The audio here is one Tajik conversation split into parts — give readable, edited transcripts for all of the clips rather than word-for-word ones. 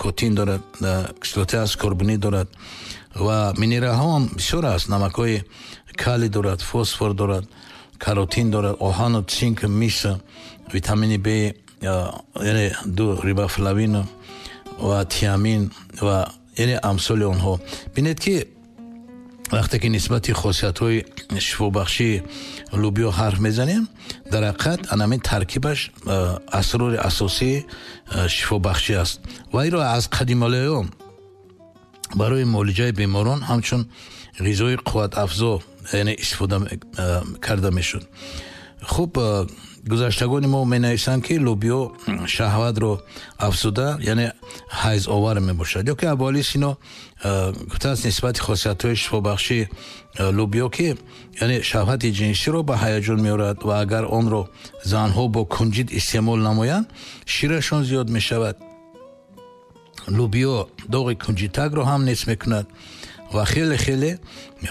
ликотин дорад, кислотаи аскорбинӣ дорад ва минералҳо ҳам бисёр аст. Намакҳои калий дорад, фосфор дорад, каротин дорад, оҳану цинк, мис, витамини Б, яъне 2 рибофлавин ва тиамин ва яъне амсоли онҳо. Бинед, ки вақте ки нисбати хосиятҳои шифобахшии лӯбиё ҳарф мезанем, дар ҳақиқат анамин таркибаш асрори асосии шифобахшӣ аст ва инро аз қадималаён барои муолиҷаи беморон ҳамчун ғизои қувватафзо, яъне истифода карда мешуд. Хуб, гузаштагони мо менависанд, ки лӯбиё шаҳватро афзуда, яъне ҳайзовар мебошад. Ё ки Абуалӣ Сино гуфтааст нисбати хосиятҳои шифобахшии лӯбиё, ки яъне шаҳвати ҷинсиро ба ҳаяҷон меорад ва агар онро занҳо бо кунҷид истеъмол намоянд, ширашон зиёд мешавад. Лӯбиё доғи кунҷитакро ҳам нест мекунад ва хеле хеле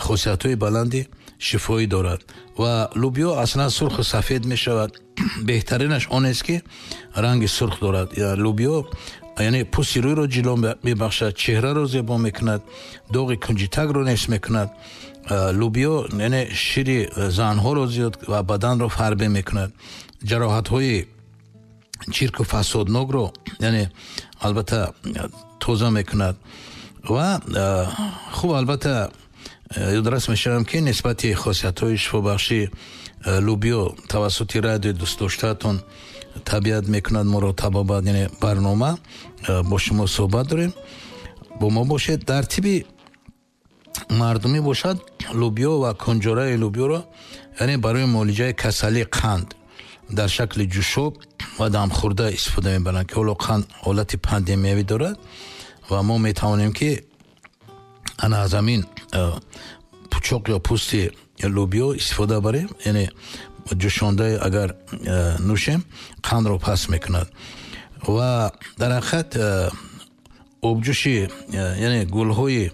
хосиятҳои баланди шифоӣ дорад. Ва лӯбиё аслан сурху сафед мешавад. Беҳтаринаш он аст, ки ранги сурх дорад. Лӯбиё яъне пӯсти рӯйро ҷило мебахшад, чеҳраро зебо мекунад, доғи кунҷитакро нест мекунад. Лӯбиё яъне шири занҳоро зиёд ва баданро фарбе мекунад. Ҷароҳатҳои чирку фасоднокро яъне албатта тоза мекунад. Ва хуб, албатта ёдрас мешавам, ки нисбати хосиятҳои шифобахшии лӯбиё тавассути радиои дӯстдоштаатон «Табиат мекунад моро табобат», яъне барнома бо шумо суҳбат дорем. Бо мо бошед. Дар тиби мардумӣ бошад, лӯбиё ва кунҷораи лӯбиёро яъне барои муолиҷаи касалии қанд дар шакли ҷӯшоб ва дамхӯрда истифода мебаранд, ки ҳоло қанд ҳолати пандемиявӣ дорад ва мо метавонем, ки ана аз ҳамин пучоқ ё пӯсти лӯбиё истифода барем, яъне ҷӯшонда агар нӯшем, қандро паст мекунад. Ва дар ҳақиқат обҷӯши яъне гулҳои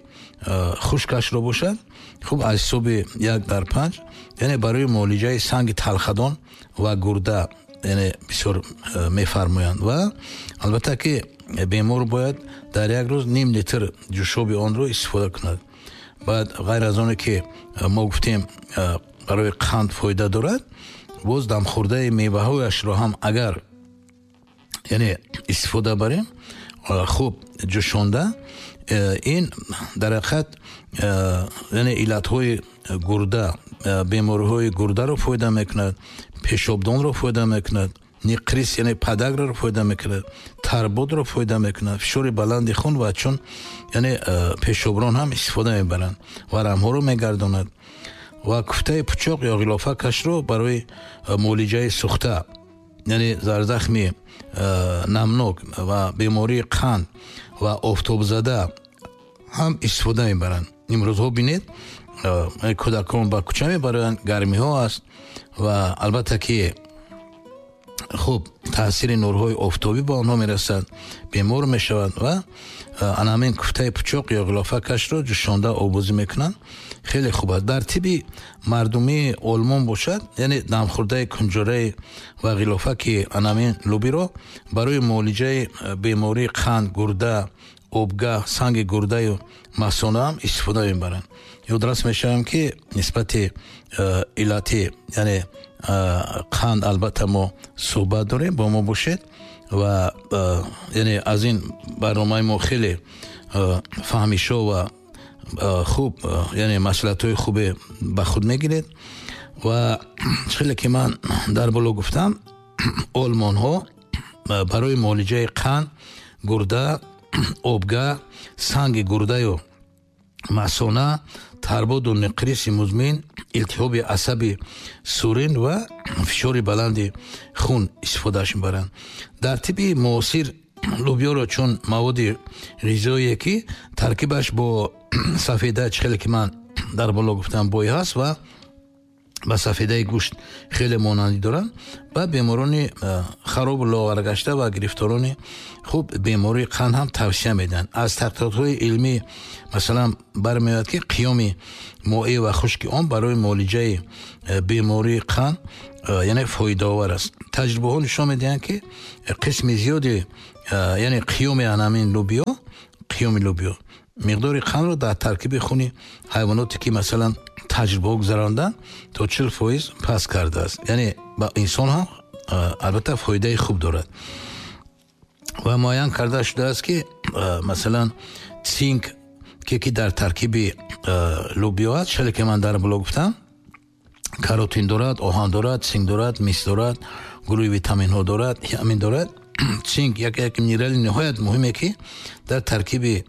хушкашро бошад, хуб, аз ҳисоби 1 дар 5, яъне барои муолиҷаи санги талхадон ва гурда яъне бисёр мефармоянд. Ва албатта ки бемор бояд дар як рӯз ним литр ҷӯшоби онро истифода кунад. Баъд ғайр аз оне ки мо гуфтем, барои қанд фоида дорад, боз дамхӯрдаи меваҳояшро ҳам агар яъне истифода барем, хуб ҷӯшонда, ин дар ҳақиқат яъне иллатҳои гурда, бемориҳои гурдаро фоида мекунад, пешобдонро фоида мекунад, нақрас, яъне подаграро фоида мекунад, тарбодро фоида мекунад, фишори баланди хун ва чун яъне пешоброн ҳам истифода мебаранд, варамҳоро мегардонад. Ва куфтаи пучоқ ё ғилофакашро барои муолиҷаи сӯхта, яъне зарзахми намнок ва бемории қанд ва офтобзада ҳам истифода мебаранд. Имрӯзҳо бинед, кӯдакон ба кӯча мебаранд, гармиҳо аст ва албатта ки хуб таъсири нурҳои офтобӣ ба онҳо мерасад, бемор мешаванд ва ана ҳамин куфтаи пучоқ ё ғилофакашро ҷӯшонда обозӣ мекунанд, хеле хуб аст. Дар тиби мардумии Олмон бошад, яъне дамхӯрдаи кунҷораи ва ғилофаки ана ҳамин лӯбиро барои муолиҷаи бемории қанд, гурда, обгаҳ, санги гурдаю масона ҳам истифода мебаранд. Ёдрас мешавам, ки нисбати иллати яъне қанд албатта мо суҳбат дорем. Бо мо бошед ва яъне аз ин барномаи мо хеле фаҳмишо ва хуб, яъне маслиҳатҳои хубе ба худ мегиред. Ва хеле ки ман дар боло гуфтам, олмонҳо барои муолиҷаи қанд, гурда, обгаҳ, санги гурдаю масона, тарбоду нақриси музмин, илтиҳоби асаби сурин ва фишори баланди хун истифодааш мебаранд. Дар тиби муосир лӯбиёро чун маводи ғизоие, ки таркибаш бо сафеда, чӣ хеле ки ман дар боло гуфтам, бой ҳаст ва ба сафедаи гӯшт хеле монандӣ доранд, ба беморони харобу лоғаргашта ва гирифторони хуб бемории қанд ҳам тавсия медиҳанд. Аз таҳқиқотҳои илмӣ, масалан, бармеояд, ки қиёми моеъ ва хушки он барои муолиҷаи бемории қанд яъне фоидаовар аст. Таҷрибаҳо нишон медиҳанд, ки қисми зиёди, яъне қиёми ҳамин лӯбиё, қиёми лӯбиё миқдори қандро дар таркиби хуни ҳайвоноте, ки масалан таҷрибаҳо гузаронданд, то 40% паст кардааст. Яъне ба инсон ҳам албатта фоидаи хуб дорад. Ва муайян карда шудааст, ки масалан цинк, ки дар таркиби лӯбиё аст, шале ки ман дар боло гуфтам, каротин дорад, оҳан дорад, цинк дорад, мис дорад, гурӯҳи витаминҳо дорад, ҳамин дорад. Цинк як минерали ниҳоят муҳиме, ки дар таркиби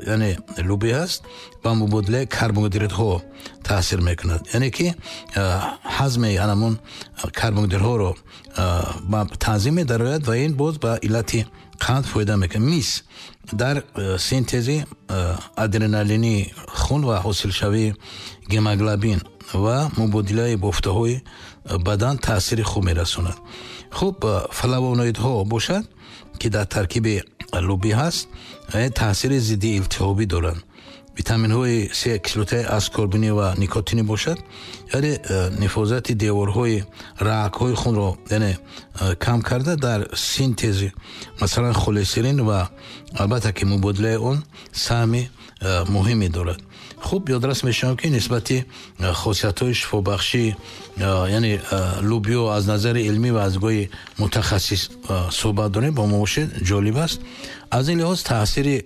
яъне лӯбиё ҳаст, ба мубодилаи карбогидратҳо таъсир мекунад. Яъне ки ҳазми ҳамон карбогидратҳоро ба танзим медарояд ва ин боз ба иллати қанд фоида мекунад. Мис дар синтези адреналини хун ва ҳосилшавии гемоглобин ва мубодилаи бофтаҳои бадан таъсири хуб мерасонад. Хуб, флавоноидҳо бошад, ки дар таркиби лӯбиё ҳаст, таъсири зидди илтиҳобӣ доранд. Витаминҳои С, кислотаи аскорбинӣ ва никотинӣ бошад, яъне нифозати деворҳои рагҳои хунро, яъне кам карда, дар синтези масалан холестерин ва албатта ки мубодилаи он саҳми муҳиме дорад. Хуб, ёдрас мешавам, ки нисбати хосиятҳои шифобахшӣ, яъне лӯбиё аз назари илмӣ ва аз нигоҳи мутахассис суҳбат дорем, бо мо бошед, ҷолиб аст. Аз ин лиҳоз таъсири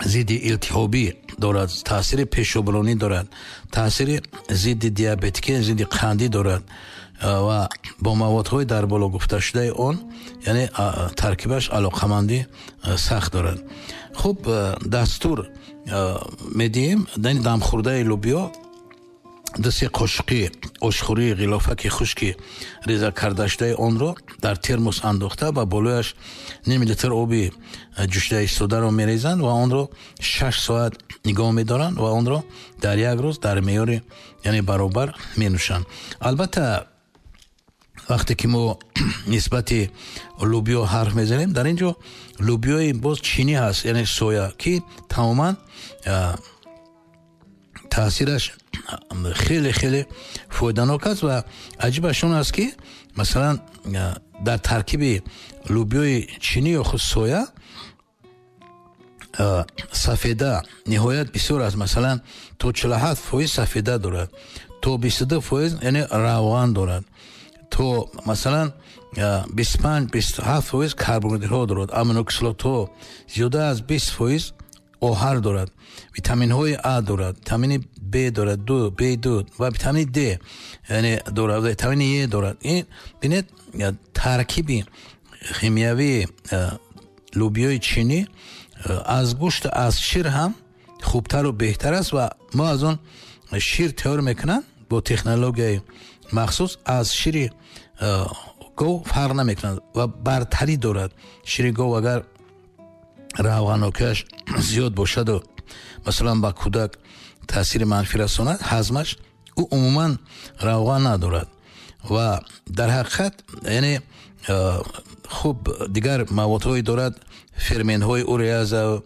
зидди илтиҳобӣ дорад, таъсири пешобронӣ дорад, таъсири зидди диабетикӣ, зидди қандӣ дорад ва бо маводҳои дар боло гуфташудаи он, яъне таркибаш алоқамандӣ сахт дорад. Хуб, дастур медиҳем, яъне дамхӯрдаи лӯбиё 2-3 қошуқи ошхӯрии ғилофаки хушки реза кардашудаи онро дар термос андохта, ба болояш ним литр оби ҷӯшида истодаро мерезанд ва онро 6 соат нигоҳ медоранд ва онро дар як рӯз дар меъёри, яъне баробар менӯшанд. Албатта, вақте ки мо нисбати лӯбиё ҳарф мезанем, дар ин ҷо лӯбиёи боз чинӣ ҳаст, яъне соя, ки тамоман таъсираш хеле хеле фоиданок аст. Ва аҷибаш он аст, ки масалан дар таркиби лӯбиёи чинӣ ё худ соя сафеда ниҳоят бисёр аст. Масалан, то 47% сафеда дорад, то 22%, яъне равған дорад, то масалан 25-27% карбогидратҳо дорад, аминокислотҳо, зиёда аз 20% оҳар дорад, витаминҳои А дорад, витамини Б дорад, ду Б2 ва витамини Д, яъне дорад, витамини Е дорад. Ин бинед, таркиби химиявии лӯбиёи чинӣ аз гӯшт, аз шир ҳам хубтару беҳтар аст ва мо аз он шир тайёр мекунанд бо технологияи махсус, аз шири гов фарқ намекунад ва бартарӣ дорад. Шири гов агар равғанокиаш зиёд бошаду масалан ба кӯдак таъсири манфӣ расонад ҳазмаш, ӯ умуман равған надорад ва дар ҳақиқат, яъне хуб, дигар маводҳое дорад, ферментҳои уреаза,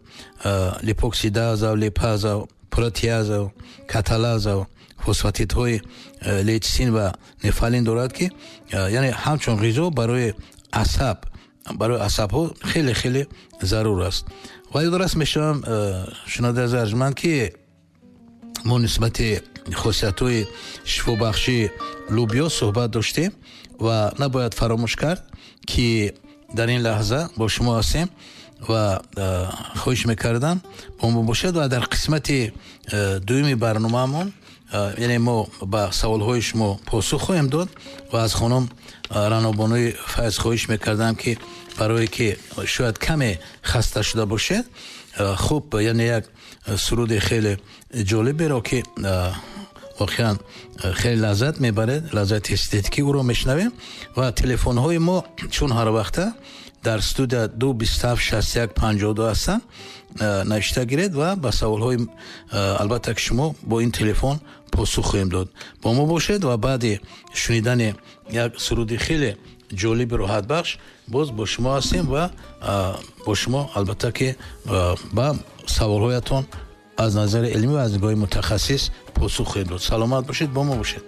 липоксидаза, липаза, протеаза, каталаза, фосфатидҳои лейцин ва нефалин дорад, ки яъне ҳамчун ғизо барои асаб, барои асабҳо хеле хеле зарур аст. Ва ёдрас мешавам, шунавандаи азиз арҷманд, ки мо нисбати хосиятҳои шифобахшии лӯбиё суҳбат доштем ва набояд фаромӯш кард, ки дар ин лаҳза бо шумо ҳастем ва хоҳиш мекардам, бо мо бошед ва дар қисмати дуюми барномаамон, яъне мо ба саволҳои шумо посух хоҳем дод. Ва аз хонум Ранобонуи Файз хоҳиш мекардам, ки барое ки шояд каме хаста шуда бошед, хуб, яъне як суруди хеле ҷолиберо, ки воқеан хеле лаззат мебаред, лаззати эстетикӣ, ӯро мешунавем. Ва телефонҳои мо чун ҳар вақта дар студия 2 27 61 52 ҳастанд, навишта гиред ва ба саволҳои албатта ки шумо бо ин телефон посух хоҳем дод. Бо мо бошед ва баъди шунидани як суруди хеле ҷолиби роҳатбахш боз бо шумо ҳастем ва бо шумо албатта ки ба саволҳоятон аз назари илмӣ ва аз нигоҳи мутахассис посух хоҳем дод. Саломат бошед, бо мо бошед.